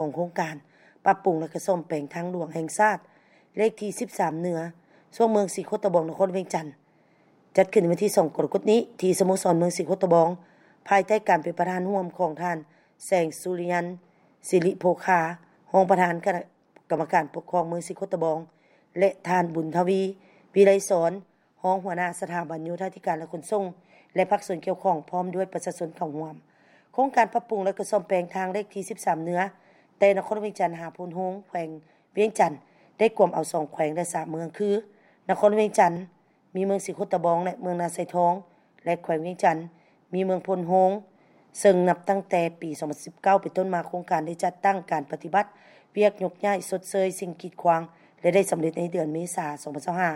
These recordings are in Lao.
ຂອງໂຄງການປັບປຸງ ແລະ ກະສ້ອມແປງທາງຫຼວງແຫ່ງຊາດ ເລກທີສິບສາມເໜືອ ຊ່ວງເມືອງສີໂຄດຕະບອງ ນະຄອນວຽງຈັນ ຈັດຂຶ້ນໃນວັນທີສອງ ກໍລະກົດນີ້ ທີ່ສະໂມສອນເມືອງສີໂຄດຕະບອງ ພາຍໃຕ້ການເປັນປະທານຮ່ວມຂອງທ່ານ ແສງສຸລິຍັນ ສິລິໂພຄາ ຮອງປະທານຄະນະກຳມະການປົກຄອງເມືອງສີໂຄດຕະບອງ ແລະ ທ່ານ ບຸນທະວີ ວິໄລສອນ ຮອງຫົວໜ້າສະຖາບັນໂຍທາທິການ ແລະ ຂົນສົ່ງ ແລະ ພາກສ່ວນກ່ຽວຂ້ອງ ພ້ອມດ້ວຍປະຊາຊົນເຂົ້າຮ່ວມ. ໂຄງການປັບປຸງ ແລະ ກະສ້ອມແປງທາງເລກທີສິບສາມເໜືອ ແຕ່ນະຄອນຫຼວງວຽງຈັນຫາໂພນໂຮງ ແຂວງວຽງຈັນ ໄດ້ກວມເອົາສອງແຂວງ ແລະ ສາມເມືອງ ຄື ນະຄອນຫຼວງວຽງຈັນ, ມີເມືອງສີໂຄດຕະບອງ ແລະ ເມືອງນາຊາຍທອງ ແລະ ແຂວງວຽງຈັນ ມີເມືອງໂພນໂຮງ, ເຊິ່ງນັບຕັ້ງແຕ່ປີສອງພັນສິບເກົ້າເປັນຕົ້ນມາ ໂຄງການໄດ້ຈັດຕັ້ງການປະຕິບັດວຽກຍົກຍ້າຍຊົດເຊີຍສິ່ງກີດຂວາງ ແລະ ໄດ້ສຳເລັດໃນເດືອນເມສາ ສອງພັນຊາວຫ້າ.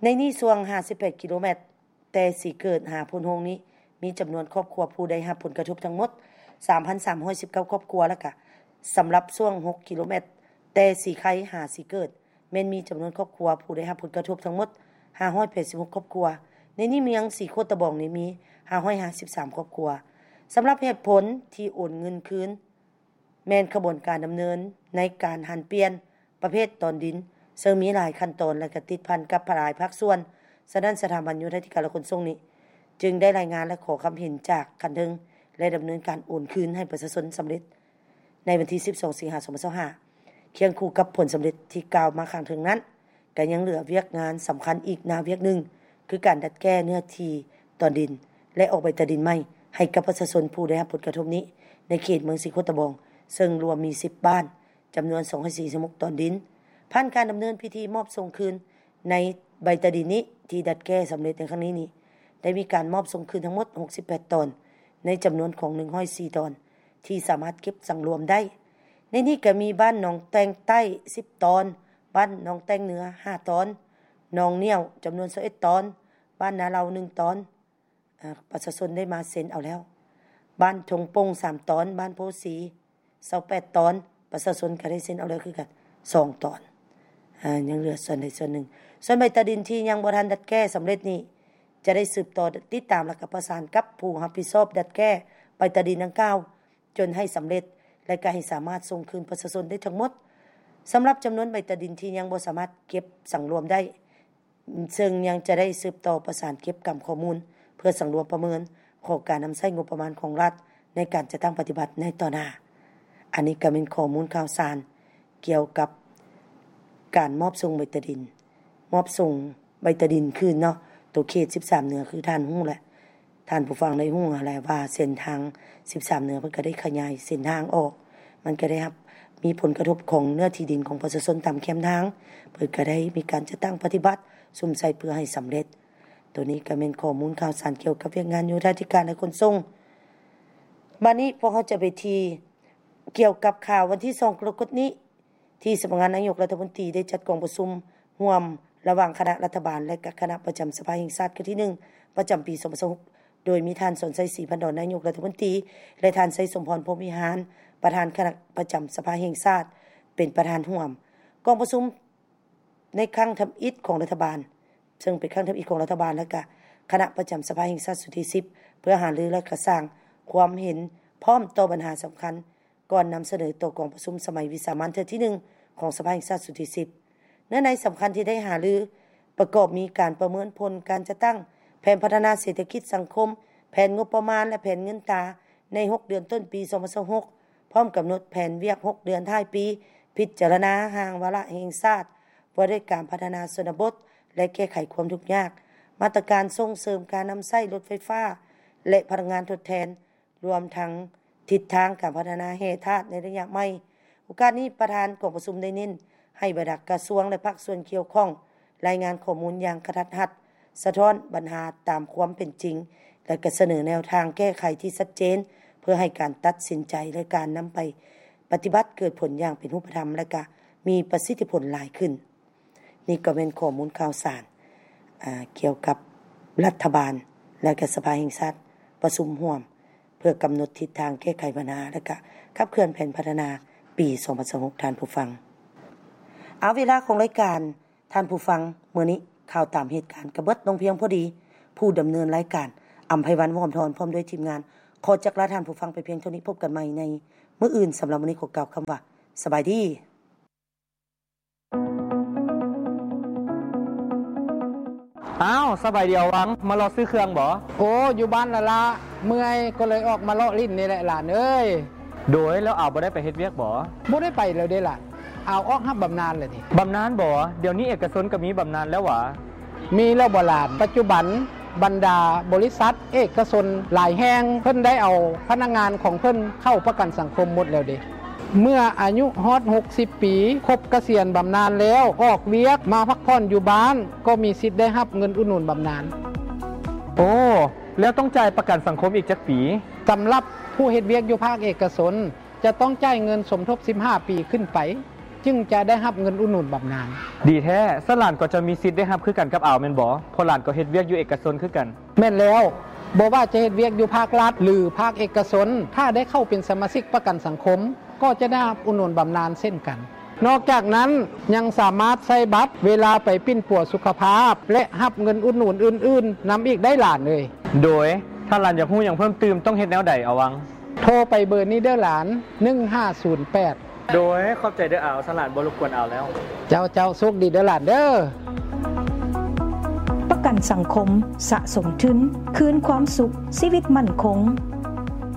ໃນນີ້ ຊ່ວງຫ້າສິບແປດກິໂລແມັດ ແຕ່ສີເກີດຫາໂພນໂຮງນີ້ ມີຈຳນວນຄອບຄົວຜູ້ໄດ້ຮັບຜົນກະທົບທັງໝົດ ສາມພັນສາມຮ້ອຍສິບເກົ້າຄອບຄົວ ແລະ ກະສຳລັບຊ່ວງຫົກກິໂລແມັດ ແຕ່ສີໄຄຫາສີເກີດ ແມ່ນມີຈຳນວນຄອບຄົວຜູ້ໄດ້ຮັບຜົນກະທົບທັງໝົດ ຫ້າຮ້ອຍແປດສິບຫົກຄອບຄົວ. ໃນນີ້ ເມືອງສີໂຄດຕະບອງນີ້ມີ ຫ້າຮ້ອຍຫ້າສິບສາມຄອບຄົວ. ສຳລັບເຫດຜົນທີ່ໂອນເງິນຄືນ ແມ່ນຂະບວນການດຳເນີນໃນການຫັນປ່ຽນປະເພດຕອນດິນ ເຊິ່ງມີຫຼາຍຂັ້ນຕອນ ແລະ ກະຕິດພັນກັບຫຼາຍພາກສ່ວນ. ສະນັ້ນ ສະຖາບັນໂຍທາທິການ ແລະ ຂົນສົ່ງນີ້ ຈຶ່ງໄດ້ລາຍງານ ແລະ ຂໍຄຳເຫັນຈາກຂັ້ນເທິງ ແລະ ດຳເນີນການໂອນຄືນໃຫ້ປະຊາຊົນສຳເລັດ ໃນວັນທີສິບສອງ ສິງຫາ ສອງພັນຊາວຫ້າ. ຄຽງຄູ່ກັບຜົນສຳເລັດທີ່ກ່າວມາຂ້າງເທິງນັ້ນ, ກໍຍັງເຫຼືອວຽກງານສຳຄັນອີກໜ້າວຽກໜຶ່ງ ຄືການດັດແກ້ເນື້ອທີ່ຕອນດິນ ແລະ ອອກໃບຕາດິນໃໝ່ໃຫ້ກັບປະຊາຊົນຜູ້ໄດ້ຮັບຜົນກະທົບນີ້ ໃນເຂດເມືອງສີໂຄດຕະບອງ, ເຊິ່ງລວມມີສິບບ້ານ, ຈຳນວນສອງຮ້ອຍສີ່ສິບຫົກຕອນດິນ. ຜ່ານການດຳເນີນພິທີມອບສົ່ງຄືນໃນໃບຕາດິນນີ້ ທີ່ດັດແກ້ສຳເລັດໃນຄັ້ງນີ້ນີ້ ໄດ້ມີການມອບສົ່ງຄືນທັງໝົດຫົກສິບແປດຕອນ ໃນຈຳນວນຂອງໜຶ່ງຮ້ອຍສີ່ຕອນ ທີ່ສາມາດເກັບສັງລວມໄດ້. ໃນນີ້ກໍມີບ້ານໜອງແຕ່ງໃຕ້ສິບຕອນ, ບ້ານໜອງແຕ່ງເໜືອຫ້າຕອນ, ໜອງໜ້ຽວຈຳນວນຊາວເອັດຕອນ, ບ້ານນາເລົາໜຶ່ງຕອນ, ອາ ປະຊາຊົນໄດ້ມາເຊັນເອົາແລ້ວ, ບ້ານທົ່ງໂປ່ງສາມຕອນ, ບ້ານໂພສີຊາວແປດຕອນ, ປະຊາຊົນກໍໄດ້ເຊັນເອົາແລ້ວຄືກັນສອງຕອນ. ອາ ຍັງເຫຼືອສ່ວນໃດສ່ວນໜຶ່ງ. ສ່ວນໃບຕາດິນທີ່ຍັງບໍ່ທັນດັດແກ້ສຳເລັດນີ້ ຈະໄດ້ສືບຕໍ່ຕິດຕາມ ແລະ ກໍປະສານກັບຜູ້ຮັບຜິດຊອບດັດແກ້ໃບຕາດິນດັ່ງກ່າວ ຈົນໃຫ້ສຳເລັດ ແລະ ກໍໃຫ້ສາມາດສົ່ງຄືນປະຊາຊົນໄດ້ທັງໝົດ. ສຳລັບຈຳນວນໃບຕາດິນທີ່ຍັງບໍ່ສາມາດເກັບສັງລວມໄດ້ ເຊິ່ງຍັງຈະໄດ້ສືບຕໍ່ປະສານເກັບກຳຂໍ້ມູນ ເພື່ອສັງລວມປະເມີນຂອງການນຳໃຊ້ງົບປະມານຂອງລັດ ໃນການຈັດຕັ້ງປະຕິບັດໃນຕໍ່ໜ້າ. ອັນນີ້ກໍແມ່ນຂໍ້ມູນຂ່າວສານກ່ຽວກັບການມອບສົ່ງໃບຕາດິນ, ມອບສົ່ງໃບຕາດິນຄືນເນາະ, ໂຕເຂດສິບສາມເໜືອ ຄືທ່ານຮູ້ແຫຼະ, ທ່ານຜູ້ຟັງໄດ້ຮູ້ຫັ້ນແຫຼະວ່າເສັ້ນທາງສິບສາມເໜືອ ເພິ່ນກໍໄດ້ຂະຫຍາຍເສັ້ນທາງອອກ, ມັນກໍໄດ້ຮັບ ມີຜົນກະທົບຂອງເນື້ອທີ່ດິນຂອງປະຊາຊົນຕາມແຄມທາງ, ເພິ່ນກໍໄດ້ມີການຈັດຕັ້ງປະຕິບັດສຸມໃສ່ເພື່ອໃຫ້ສຳເລັດ. ໂຕນີ້ກໍແມ່ນຂໍ້ມູນຂ່າວສານກ່ຽວກັບວຽກງານໂຍທາທິການ ແລະ ຂົນສົ່ງ. ບາດນີ້ພວກເຮົາຈະໄປທີ່ກ່ຽວກັບຂ່າວວັນທີສອງ ກໍລະກົດນີ້ ທີ່ສຳນັກງານນາຍົກລັດຖະມົນຕີໄດ້ຈັດກອງປະຊຸມຮ່ວມລະຫວ່າງຄະນະລັດຖະບານ ແລະ ກະຄະນະປະຈຳສະພາແຫ່ງຊາດຄັ້ງທີໜຶ່ງ ປະຈຳປີສອງພັນຊາວຫົກ ໂດຍມີທ່ານ ສອນໄຊ ສີພັນດອນ ນາຍົກລັດຖະມົນຕີ ແລະ ທ່ານ ໄຊສົມພອນ ພົມວິຫານ ປະທານຄະນະປະຈຳສະພາແຫ່ງຊາດ ເປັນປະທານຮ່ວມ. ກອງປະຊຸມໃນຄັ້ງທຳອິດຂອງລັດຖະບານ ເຊິ່ງເປັນຄັ້ງທຳອິດຂອງລັດຖະບານ ແລະ ກະຄະນະປະຈຳສະພາແຫ່ງຊາດຊຸດທີສິບ ເພື່ອຫາລື ແລະ ກະສ້າງຄວາມເຫັນພ້ອມຕໍ່ບັນຫາສຳຄັນ ກ່ອນນຳສະເໜີຕໍ່ກອງປະຊຸມສະໄໝວິສາມັນເທື່ອທີໜຶ່ງຂອງສະພາແຫ່ງຊາດຊຸດທີສິບ. ເນື້ອໃນສຳຄັນທີ່ໄດ້ຫາລືປະກອບມີການປະເມີນຜົນການຈັດຕັ້ງແຜນພັດທະນາເສດຖະກິດສັງຄົມ, ແຜນງົບປະມານ ແລະ ແຜນເງິນຕາໃນຫົກເດືອນຕົ້ນປີສອງພັນຊາວຫົກ ພ້ອມກຳນົດແຜນວຽກຫົກເດືອນທ້າຍປີ, ພິຈາລະນາຮ່າງວາລະແຫ່ງຊາດວ່າດ້ວຍການພັດທະນາຊົນນະບົດ ແລະ ແກ້ໄຂຄວາມທຸກຍາກ, ມາດຕະການສົ່ງເສີມການນຳໃຊ້ລົດໄຟຟ້າ ແລະ ພະລັງງານທົດແທນ, ລວມທັງທິດທາງການພັດທະນາແຮ່ທາດໃນໄລຍະໃໝ່. ໂອກາດນີ້ ປະທານກອງປະຊຸມໄດ້ເນັ້ນໃຫ້ບັນດາກະຊວງ ແລະ ພາກສ່ວນກ່ຽວຂ້ອງ ລາຍງານຂໍ້ມູນຢ່າງກະທັດຮັດ, ສະທ້ອນບັນຫາຕາມຄວາມເປັນຈິງ ແລະ ກະສະເໜີແນວທາງແກ້ໄຂທີ່ຊັດເຈນ ເພື່ອໃຫ້ການຕັດສິນໃຈ ແລະ ການນຳໄປປະຕິບັດເກີດຜົນຢ່າງເປັນຮູບປະທຳ ແລະ ກະມີປະສິດທິຜົນຫຼາຍຂຶ້ນ. ນີ້ກໍແມ່ນຂໍ້ມູນຂ່າວສານ ອາ ກ່ຽວກັບລັດຖະບານ ແລະ ກະສະພາແຫ່ງຊາດປະຊຸມຮ່ວມ ເພື່ອກຳນົດທິດທາງແກ້ໄຂບັນຫາ ແລະ ກະຂັບເຄື່ອນແຜນພັດທະນາປີສອງພັນຊາວຫົກ ທ່ານຜູ້ຟັງ. ເອົາ ເວລາຂອງລາຍການ ທ່ານຜູ້ຟັງ, ມື້ນີ້ຂ່າວຕາມເຫດການກໍເບິດລົງພຽງພໍດີ. ຜູ້ດຳເນີນລາຍການ ອຳໄພວັນ ວອມທອນ ພ້ອມດ້ວຍທີມງານ ຂໍຈັກລາທ່ານຜູ້ຟັງໄປພຽງເທົ່ານີ້. ພົບກັນໃໝ່ໃນ ມື້ອື່ນ. ສຳລັບມື້ນີ້ຂໍກ່າວຄຳວ່າ ສະບາຍດີ. ອ້າວ ສະບາຍດີອາວັງ, ມາເລາະຊື້ເຄື່ອງບໍ? ໂອ້ ຢູ່ບ້ານລະລະ, ເມື່ອຍກໍເລີຍອອກມາເລາະຫຼິ້ນນີ້ແຫຼະຫຼານເອີຍ. ໂດຍ ແລ້ວອາວບໍ່ໄດ້ໄປເຮັດວຽກບໍ? ບໍ່ໄດ້ໄປແລ້ວເດ້ຫຼານ, ອາວອອກຮັບບຳນານແລ້ວເດ້. ບຳນານບໍ? ດຽວນີ້ເອກະຊົນກໍມີບຳນານແລ້ວຫວາ? ມີແລ້ວບໍຫຼານ? ປັດຈຸບັນບັນດາບໍລິສັດເອກະຊົນຫຼາຍແຫ່ງ ເພິ່ນໄດ້ເອົາພະນັກງານຂອງເພິ່ນເຂົ້າປະກັນສັງຄົມໝົດແລ້ວເດ້. ເມື່ອອາຍຸຮອດຫົກສິບປີ, ຄົບກະສຽນບຳນານແລ້ວ, ອອກວຽກມາພັກຜ່ອນຢູ່ບ້ານ, ກໍມີສິດໄດ້ຮັບເງິນອຸດໜູນບຳນານ. ໂອ້ ແລ້ວຕ້ອງຈ່າຍປະກັນສັງຄົມອີກຈັກປີ? ສຳລັບຜູ້ເຮັດວຽກຢູ່ພາກເອກະຊົນ ຈະຕ້ອງຈ່າຍເງິນສົມທົບສິບຫ້າປີຂຶ້ນໄປ, ຈຶ່ງຈະໄດ້ຮັບເງິນອຸດໜູນບຳນານ. ດີແທ້, ຊັ້ນຫຼານກໍຈະມີສິດໄດ້ຮັບຄືກັນກັບອາວແມ່ນບໍ? ເພາະຫຼານກໍເຮັດວຽກຢູ່ເອກະຊົນຄືກັນ. ແມ່ນແລ້ວ, ບໍ່ວ່າຈະເຮັດວຽກຢູ່ພາກລັດ ຫຼື ພາກເອກະຊົນ, ຖ້າໄດ້ເຂົ້າເປັນສະມາຊິກປະກັນສັງຄົມ, ກໍຈະໄດ້ຮັບອຸດໜູນບຳນານເຊັ່ນກັນ. ນອກຈາກນັ້ນ, ຍັງສາມາດໃຊ້ບັດເວລາໄປປິ່ນປົວສຸຂະພາບ ແລະ ຮັບເງິນອຸດໜູນອື່ນໆນຳອີກໄດ້ຫຼານເອີຍ. ໂດຍ ຖ້າຫຼານຢາກຮູ້ຫຍັງເພີ່ມຕື່ມ ຕ້ອງເຮັດແນວໃດອາວັງ? ໂທໄປເບີນີ້ເດີຫຼານ ໜຶ່ງຫ້າສູນແປດ. ໂດຍ ຂອບໃຈເດີອາວ, ຊັ້ນຫຼານບໍ່ລົບກວນອາວແລ້ວ. ເຈົ້າ ເຈົ້າ, ໂຊກດີເດີຫຼານເດີ. ປະກັນສັງຄົມ, ສະສົມທຶນ, ຄືນຄວາມສຸກ, ຊີວິດໝັ້ນຄົງ.